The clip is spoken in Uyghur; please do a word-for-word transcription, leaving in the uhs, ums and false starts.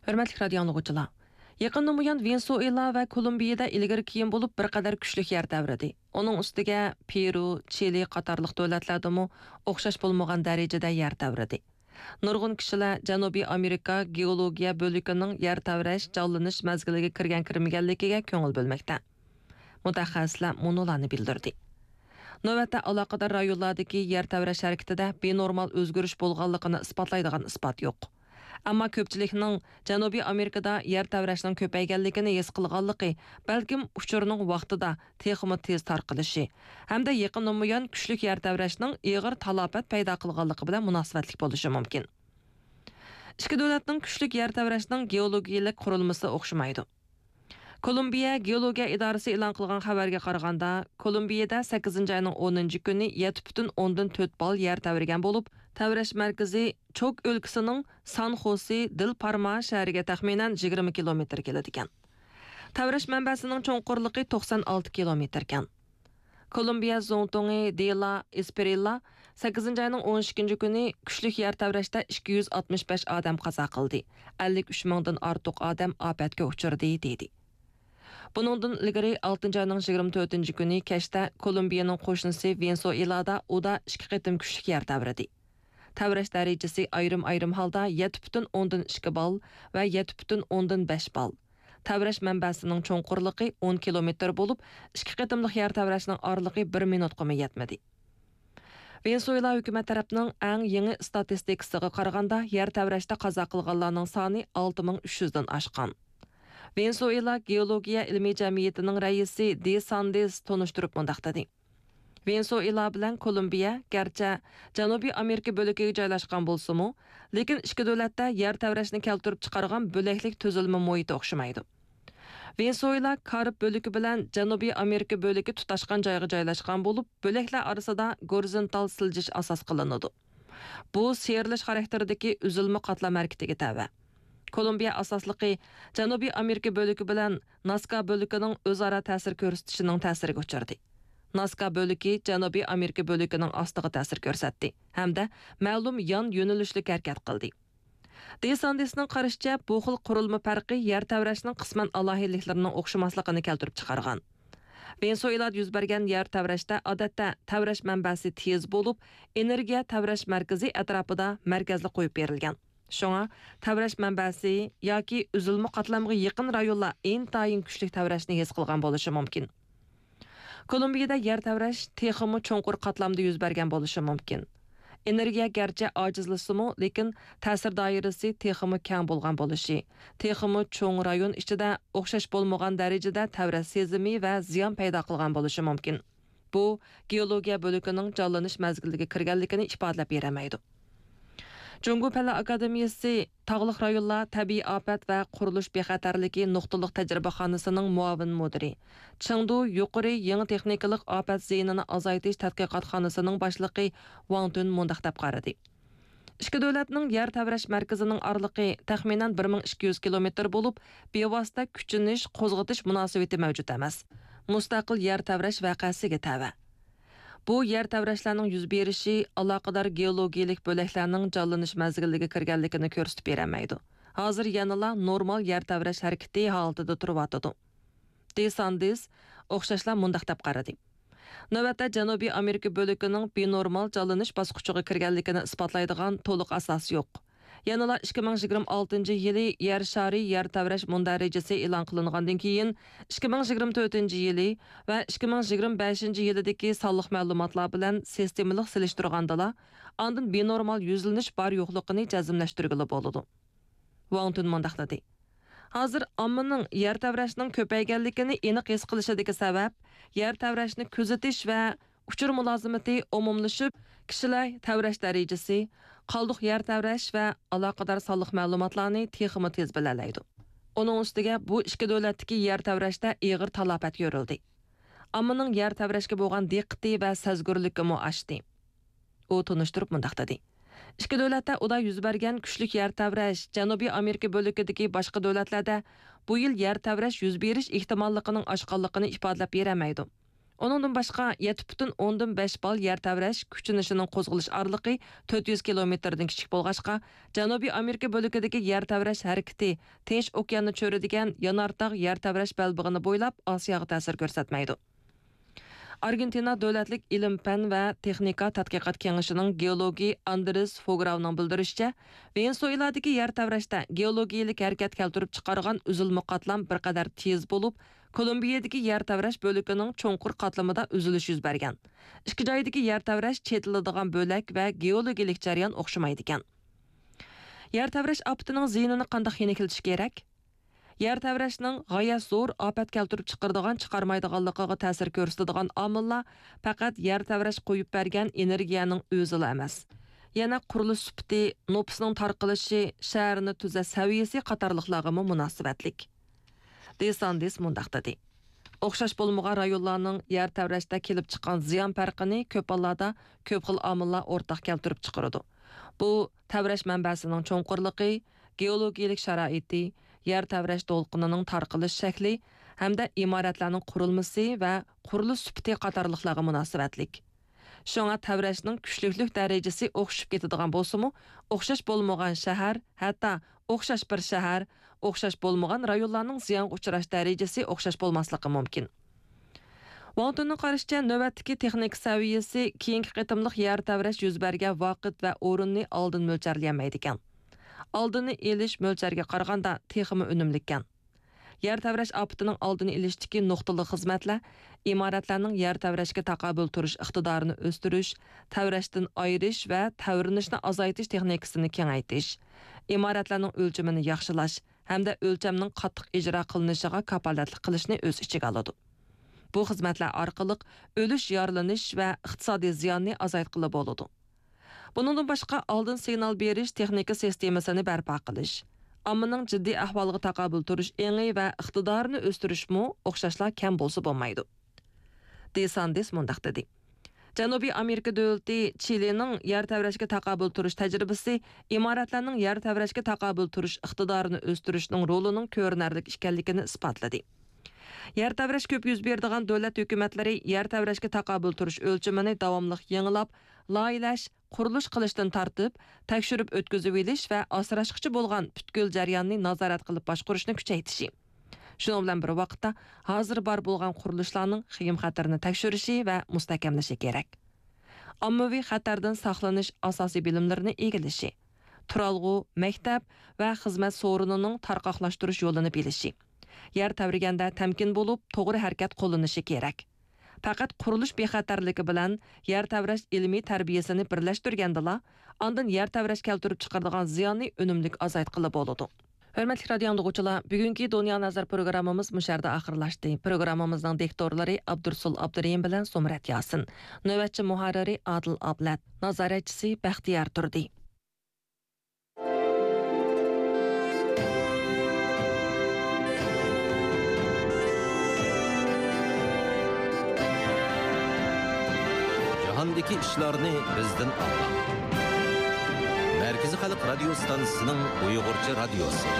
ھۆرمەتلىك رادىيو ئاڭلىغۇچىلار! يېقىندىن بۇيان ۋېنېسۇئېلا ۋە كولومبىيىدە ئىلگىرى كېيىن بولۇپ بىر قەدەر كۈچلۈك يەر تەۋرىدى. ئۇنىڭ ئۈستىگە پېرۇ، چىلى قاتارلىق دۆلەتلەردىمۇ ئوخشاش بولمىغان دەرىجىدە يەر تەۋرىدى. نۇرغۇن كىشىلەر جەنۇبىي ئامېرىكا گېئولوگىيە بۆلىكىنىڭ يەر تەۋرەش، جانلىنىش مەزگىلىگە كىرگەن-كىرمىگەنلىكىگە كۆڭۈل بۆلمەكتە. مۇتەخەسسىسلەر مۇنۇلارنى بىلدۈردى. نۆۋەتتە ئالاقىدار رايونلاردىكى يەر تەۋرەش ھەرىكىتىدە بىنورمال ئۆزگىرىش بولغانلىقىنى ئىسپاتلايدىغان ئىسپات يوق. ئەمما كۆپچىلىكنىڭ جەنۇبىي ئامېرىكىدا يەر تەۋرەشنىڭ كۆپەيگەنلىكىنى ھېس قىلغانلىقى، بەلكىم ئۇچۇرنىڭ ۋاقتىدا تېخىمۇ تېز تارقىلىشى ھەمدە يېقىندىن بۇيان كۈچلۈك يەر تەۋرەشنىڭ ئېغىر تالاپەت پەيدا قىلغانلىقى بىلەن مۇناسىۋەتلىك بولۇشى مۇمكىن. ئىككى دۆلەتنىڭ كۈچلۈك يەر تەۋرەشنىڭ گېئولوگىيىلىك قۇرۇلمىسى ئوخشىمايدۇ. كولومبىيە گېئولوگىيە ئىدارىسى ئېلان قىلغان خەۋەرگە قارىغاندا، كولومبىيەدە سەككىزىنچى ئاينىڭ ئونىنچى كۈنى يەتتە پۈتۈن ئوندىن تۆت بال يەر تەۋرىگەن بولۇپ، تەۋرەش مەركىزى چوك ئۆلكىسىنىڭ سان خوسې دېل پارما شەھىرىگە تەخمىنەن يىگىرمە كىلومېتىر كېلىدىكەن. تەۋرەش مەنبەسىنىڭ چوڭقۇرلۇقى توقسان ئالتە كىلومېتىركەن. كولومبىيە زۇڭتۇڭى دېلا ئېسپېرىلا سەككىزىنچى ئاينىڭ ئون ئىككىنچى كۈنى كۈچلۈك يەر تەۋرەشتە ئىككى يۈز ئاتمىش بەش ئادەم قازا قىلدى، ئەللىك ئۈچ مىڭدىن ئارتۇق ئادەم ئاپەتكە ئۇچرىدى، دېدى. بۇنىڭدىن ئىلگىرى ئالتىنچى ئاينىڭ يىگىرمە تۆتىنچى كۈنى كەچتە كولومبىيەنىڭ قوشنىسى ۋېنېسۇئېلادا ئۇدا ئىككى قېتىم كۈچلۈك يەر تەۋرىدى. تەۋرەش دەرىجىسى ئايرىم-ئايرىم ھالدا يەتتە پۈتۈن ئوندىن ئىككى بال ۋە يەتتە پۈتۈن ئوندىن بەش بال. تەۋرەش مەنبەسىنىڭ چوڭقۇرلۇقى ئون كىلومېتىر بولۇپ، ئىككى قېتىملىق يەر تەۋرەشنىڭ ئارىلىقى بىر مىنۇتقىمۇ يەتمىدى. ۋېنېسۇئېلا ھۆكۈمەت تەرەپنىڭ ئەڭ يېڭى ئىستاتىستىكىسىغا قارىغاندا، يەر تەۋرەشتە قازا قىلغانلارنىڭ سانى ئالتە مىڭ ئۈچ يۈزدىن ئاشقان. ۋېنېسۇئېلا گېئولوگىيە ئىلمىي جەمئىيىتىنىڭ رەئىسى دې ساندېس تونۇشتۇرۇپ مۇنداق دېدى: ۋېنېسۇئېلا بىلەن كولومبىيە گەرچە جەنۇبىي ئامېرىكا بۆلىكىگە جايلاشقان بولسىمۇ، لېكىن ئىككى دۆلەتتە يەر تەۋرەشنى كەلتۈرۈپ چىقارغان بۆلەكلىك تۈزۈلمە مۇھىتى ئوخشىمايدۇ. ۋېنېسۇئېلا كارىب بۆلىكى بىلەن جەنۇبىي ئامېرىكا بۆلىكى تۇتاشقان جايغا جايلاشقان بولۇپ، بۆلەكلەر ئارىسىدا گورىزونتال سىلجىش ئاساس قىلىنىدۇ. بۇ سىيرىلىش خاراكتېرىدىكى ئۈزۈلمە قاتلام ھەرىكىتىگە تەۋە. كولومبىيە ئاساسلىقى جەنۇبىي ئامېرىكا بۆلىكى بىلەن ناسكا بۆلىكىنىڭ ئۆزئارا تەسىر كۆرسىتىشىنىڭ تەسىرىگە ئۇچرىدى. ناسكا بۆلىكى جەنۇبىي ئامېرىكا بۆلىكىنىڭ ئاستىغا تەسىر كۆرسەتتى ھەمدە مەلۇم يان يۆنىلىشلىك ھەرىكەت قىلدى. دې ساندېسنىڭ قارىشىچە، بۇ خىل قۇرۇلما پەرقى يەر تەۋرەشنىڭ قىسمەن ئالاھىدىلىكلىرىنىڭ ئوخشىماسلىقىنى كەلتۈرۈپ چىقارغان. ۋېنېسۇئېلادا يۈز بەرگەن يەر تەۋرەشتە، ئادەتتە، تەۋرەش مەنبەسى تېز بولۇپ، ئېنېرگىيە تەۋرەش مەركىزى ئەتراپىدا مەركەزلىك قويۇپ بېرىلگەن. شۇڭا، تەۋرەش مەنبەسى ياكى ئۈزۈلمە قاتلامغا يېقىن رايونلار ئىنتايىن كۈچلۈك تەۋرەشنى ھېس قىلغان بولۇشى مۇمكىن. كولومبىيەدە يەر تەۋرەش تېخىمۇ چوڭقۇر قاتلامدا يۈز بەرگەن بولۇشى مۇمكىن. ئېنېرگىيە گەرچە ئاجىزلىسىمۇ، لېكىن تەسىر دائىرىسى تېخىمۇ كەڭ بولغان بولۇشى، تېخىمۇ چوڭ رايون ئىچىدە ئوخشاش بولمىغان دەرىجىدە تەۋرەش سېزىمى ۋە زىيان پەيدا قىلغان بولۇشى مۇمكىن. بۇ، گېئولوگىيە بۆلىكىنىڭ جانلىنىش مەزگىلىگە كىرگەنلىكىنى ئىپادىلەپ بېرەلمەيدۇ. جۇڭگو پەنلەر ئاكادېمىيىسى تاغلىق رايونلار تەبىئىي ئاپەت ۋە قۇرۇلۇش بىخەتەرلىكى نۇقتىلىق تەجرىبىخانىسىنىڭ مۇئاۋىن مۇدىرى، چېڭدۇ يۇقىرى يېڭى تېخنىكىلىق ئاپەت زىيىنىنى ئازايتىش تەتقىقاتخانىسىنىڭ باشلىقى ۋاڭ تۈن مۇنداق دەپ قارىدى: ئىككى دۆلەتنىڭ يەر تەۋرەش مەركىزىنىڭ ئارىلىقى تەخمىنەن بىر مىڭ ئىككى يۈز كىلومېتىر بولۇپ، بىۋاسىتە كۈچىنىش، قوزغىتىش مۇناسىۋىتى مەۋجۇت ئەمەس. مۇستەقىل يەر تەۋرەش ۋەقەسىگە تەۋە. بۇ يەر تەۋرەشلەرنىڭ يۈز بېرىشى ئالاقىدار گېئولوگىيىلىك بۆلەكلەرنىڭ جانلىنىش مەزگىلىگە كىرگەنلىكىنى كۆرسىتىپ بېرەلمەيدۇ. ھازىر يەنىلا نورمال يەر تەۋرەش ھەرىكىتى ھالىتىدە تۇرۇۋاتىدۇ. دې ساندېس ئوخشاشلا مۇنداق دەپ قارىدى: نۆۋەتتە جەنۇبىي ئامېرىكا بۆلىكىنىڭ بىنورمال جانلىنىش باسقۇچىغا كىرگەنلىكىنى ئىسپاتلايدىغان تولۇق ئاساس يوق. يەنىلا ئىككى مىڭ يىگىرمە ئالتىنچى يىلى يەر شارى يەر تەۋرەش مۇندەرىجىسى ئېلان قىلىنغاندىن كېيىن، ئىككى مىڭ يىگىرمە تۆتىنچى يىلى ۋە ئىككى مىڭ يىگىرمە بەشىنچى يىلىدىكى سانلىق مەلۇماتلار بىلەن سىستېمىلىق سېلىشتۇرغاندىلا، ئاندىن بىنورمال يۈزلىنىش بار-يوقلۇقىنى جەزملەشتۈرگىلى بولىدۇ. ۋاڭ تۈن مۇنداق دېدى: ھازىر ئاممىنىڭ يەر تەۋرەشنىڭ كۆپەيگەنلىكىنى ئېنىق ھېس قىلىشىدىكى سەۋەب، يەر تەۋرەشنى كۆزىتىش ۋە ئۇچۇر مۇلازىمىتى ئومۇملىشىپ، كىشىلەر تەۋرەش دەرىجىسى، قالدۇق يەر تەۋرەش ۋە ئالاقىدار سانلىق مەلۇماتلارنى تېخىمۇ تېز بىلەلەيدۇ. ئۇنىڭ ئۈستىگە، بۇ ئىككى دۆلەتتىكى يەر تەۋرەشتە ئېغىر تالاپەت يۆرۈلدى. ئاممىنىڭ يەر تەۋرەشكە بولغان دىققىتى ۋە سەزگۈرلۈكىمۇ ئاشتى. ئۇ تونۇشتۇرۇپ مۇنداق دېدى: ئىككى دۆلەتتە ئۇدا يۈز بەرگەن كۈچلۈك يەر تەۋرەش جەنۇبىي ئامېرىكا بۆلىكىدىكى باشقا دۆلەتلەردە بۇ يىل يەر تەۋرەش يۈز بېرىش ئېھتىماللىقىنىڭ ئاشقانلىقىنى ئىپادىلەپ بېرەلمەيدۇ. ئۇنىڭدىن باشقا، يەتتە پۈتۈن ئوندىن بەش بال يەر تەۋرەش كۈچىنىشىنىڭ قوزغىلىش ئارىلىقى تۆت يۈز كىلومېتىردىن كىچىك بولغاچقا، جەنۇبىي ئامېرىكا بۆلىكىدىكى يەر تەۋرەش ھەرىكىتى تىنچ ئوكياننى چۆرىدىگەن يانارتاغ يەر تەۋرەش بەلبېغىنى بويلاپ ئاسىياغا تەسىر كۆرسەتمەيدۇ. ئارگېنتىنا دۆلەتلىك ئىلىم-پەن ۋە تېخنىكا تەتقىقات كېڭىشىنىڭ گېئولوگى ئاندرېس فوگراۋنىڭ بىلدۈرۈشىچە، ۋېنېسۇئېلادىكى يەر تەۋرەشتە گېئولوگىيىلىك ھەرىكەت كەلتۈرۈپ چىقارغان ئۈزۈلمە قاتلام بىر قەدەر تېز بولۇپ، كولومبىيەدىكى يەر تەۋرەش بۆلىكىنىڭ چوڭقۇر قاتلىمىدا ئۈزۈلۈش يۈز بەرگەن. ئىككى جايدىكى يەر تەۋرەش چېتىلىدىغان بۆلەك ۋە گېئولوگىيىلىك جەريان ئوخشىمايدىكەن. يەر تەۋرەش ئاپىتىنىڭ زىيىنىنى قانداق يېنىكلىتىش كېرەك؟ يەر تەۋرەشنىڭ غايەت زور ئاپەت كەلتۈرۈپ چىقىرىدىغان، چىقارمايدىغانلىقىغا تەسىر كۆرسىتىدىغان ئامىللار پەقەت يەر تەۋرەش قويۇپ بەرگەن ئېنېرگىيەنىڭ ئۆزىلا ئەمەس، يەنە قۇرۇلۇش سۈپىتى، نوپۇسنىڭ تارقىلىشى، شەھەرنى تۈزەش سەۋىيەسى قاتارلىقلارغىمۇ مۇناسىۋەتلىك. دېساندېس مۇنداق دېدى: ئوخشاش بولمىغان رايونلارنىڭ يەر تەۋرەشتە كېلىپ چىققان زىيان پەرقىنى كۆپ ھاللاردا كۆپ خىل ئامىللار ئورتاق كەلتۈرۈپ چىقىرىدۇ. بۇ تەۋرەش مەنبەسىنىڭ چوڭقۇرلۇقى، گېئولوگىيىلىك شارائىتى، يەر تەۋرەش دولقۇنىنىڭ تارقىلىش شەكلى ھەمدە ئىمارەتلەرنىڭ قۇرۇلمىسى ۋە قۇرۇلۇش سۈپىتى قاتارلىقلارغا مۇناسىۋەتلىك. شۇڭا تەۋرەشنىڭ كۈچلۈكلۈك دەرىجىسى ئوخشىشىپ كېتىدىغان بولسىمۇ، ئوخشاش بولمىغان شەھەر، ھەتتا ئوخشاش بىر شەھەر، ئوخشاش بولمىغان رايونلارنىڭ زىيانغا ئۇچراش دەرىجىسى ئوخشاش بولماسلىقى مۇمكىن. ۋاڭ تۈننىڭ قارىشىچە، نۆۋەتتىكى تېخنىكا سەۋىيەسى كېيىنكى قېتىملىق يەر تەۋرەش يۈز بەرگەن ۋاقىت ۋە ئورۇننى ئالدىن مۆلچەرلىيەلمەيدىكەن. ئالدىنى ئېلىش مۆلچەرگە قارىغاندا تېخىمۇ ئۈنۈملۈككەن. يەر تەۋرەش ئاپىتىنىڭ ئالدىنى ئېلىشتىكى نۇقتىلىق خىزمەتلەر ئىمارەتلەرنىڭ يەر تەۋرەشكە تاقابىل تۇرۇش ئىقتىدارىنى ئۆستۈرۈش، تەۋرەشتىن ئايرىش ۋە تەۋرىنىشنى ئازايتىش تېخنىكىسىنى كېڭەيتىش، ئىمارەتلەرنىڭ ئۆلچىمىنى ياخشىلاش ھەمدە ئۆلچەمنىڭ قاتتىق ئىجرا قىلىنىشىغا كاپالەتلىك قىلىشنى ئۆز ئىچىگە ئالىدۇ. بۇ خىزمەتلەر ئارقىلىق ئۆلۈش، يارىلىنىش ۋە ئىقتىسادىي زىياننى ئازايتقىلى بولىدۇ. بۇنىڭدىن باشقا، ئالدىن سىگنال بېرىش تېخنىكا سىستېمىسىنى بەرپا قىلىش، ئاممىنىڭ جىددىي ئەھۋالىغا تاقابىل تۇرۇش ئېڭى ۋە ئىقتىدارىنى ئۆستۈرۈشمۇ ئوخشاشلا كەم بولسا بولمايدۇ. دېساندېس مۇنداق دېدى: جەنۇبىي ئامېرىكا دۆلىتى چىلىنىڭ يەر تەۋرەشكە تاقابىل تۇرۇش تەجرىبىسى ئىمارەتلەرنىڭ يەر تەۋرەشكە تاقابىل تۇرۇش ئىقتىدارىنى ئۆستۈرۈشنىڭ رولىنىڭ كۆرۈنەرلىك ئىكەنلىكىنى ئىسپاتلىدى. يەر تەۋرەش كۆپ يۈز بېرىدىغان دۆلەت ھۆكۈمەتلىرى يەر تەۋرەشكە تاقابىل تۇرۇش ئۆلچىمىنى داۋاملىق يېڭىلاپ، لايىھەلەش، قۇرۇلۇش قىلىشتىن تارتىپ، تەكشۈرۈپ ئۆتكۈزۈۋېلىش ۋە ئاسراشقىچە بولغان پۈتكۈل جەرياننى نازارەت قىلىپ باشقۇرۇشنى كۈچەيتىشى، شۇنىڭ بىلەن بىر ۋاقىتتا، ھازىر بار بولغان قۇرۇلۇشلارنىڭ خېيىم خەتىرىنى تەكشۈرۈشى ۋە مۇستەھكەملىشى كېرەك. ئاممىۋى خەتەردىن ساقلىنىش ئاساسىي بىلىملىرىنى ئىگىلىشى، تۇرالغۇ، مەكتەپ ۋە خىزمەت سورۇنىنىڭ تارقاقلاشتۇرۇش يولىنى بىلىشى، يەر تەۋرىگەندە تەمكىن بولۇپ، توغرا ھەرىكەت قوللىنىشى كېرەك. پەقەت قۇرۇلۇش بىخەتەرلىكى بىلەن يەر تەۋرەش ئىلمىي تەربىيەسىنى بىرلەشتۈرگەندىلا، ئاندىن يەر تەۋرەش كەلتۈرۈپ چىقىرىدىغان زىياننى ئۈنۈملۈك ئازايتقىلى بولىدۇ. ھۆرمەتلىك رادىيو ئاڭلىغۇچىلار، بۈگۈنكى دۇنيا نەزەر پروگراممىمىز مۇشۇ يەردە ئاخىرلاشتى. پروگراممىمىزنىڭ دىكتورلىرى ئابدۇرسۇل ئابدۇرېھىم بىلەن زۇمرەت ياسىن. نۆۋەتچى مۇھەررىرى ئادىل ئابلەت. نازارەتچىسى بەختىيار تۇردى. جاھاندىكى ئىشلارنى بىزدىن ئاڭلاڭ. مەركىزىي خەلق رادىيو ستانسىسىنىڭ ئۇيغۇرچە رادىيوسى.